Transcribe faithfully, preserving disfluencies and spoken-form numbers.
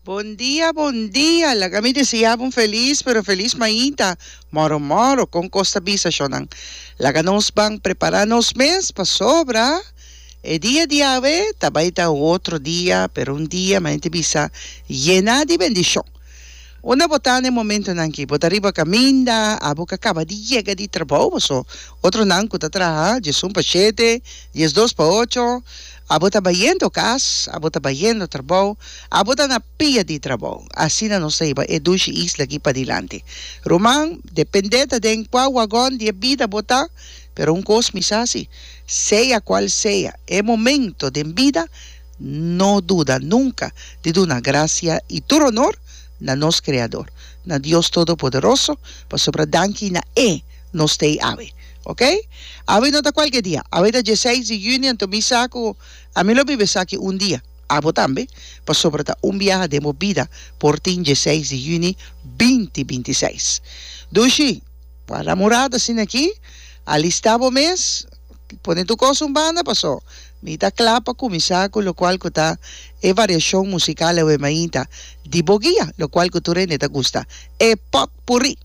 Bon dia, bon dia. Laga mi desea un felis, pero felis mainta. Moro moro, kon kos ta bisa, shonnan. Laga nos ban prepara nos mes pasobra. E dia di awe, ta bai ta otro dia, pero un dia, mainta bisa, yena di bendishon. Unda bo ta na momentonan aki, bo ta riba kaminda, abo ku a kaba di yega di trabou, so otronan ku ta traha, diesun pa shete, diesdos pa ocho, abo ta bayendo kas, abo ta bayendo trabou, abo ta na pia di trabou. Asina nos ta hiba e dushi isla aki padilanti. Ruman, depende ta den kua wagon di bida bo ta, pero un kos mi sa si, sea kual sea, e momento di bida, no duda nunka di duna grasia i tur honor na nos Kreador, na Dios Todopoderoso, pasobra danki na E nos t'ei awe. Ok? Awe no ta kualke dia. Awe ta diesseis di yüni, anto mi sa ku ami lo biba esaki un dia. Abo tambe, pasobra ta un biaha den bo bida por tin diesseis di yüni binti bintiseis. Dushi, para morada asina aki, alistá bo mes, pone tur kos un banda, paso. Mi ta kla pa kuminsá ku lokual ku ta e variashon musikal e mainta di bo guia, lokual ku tur hende ta gusta. E potpurrí.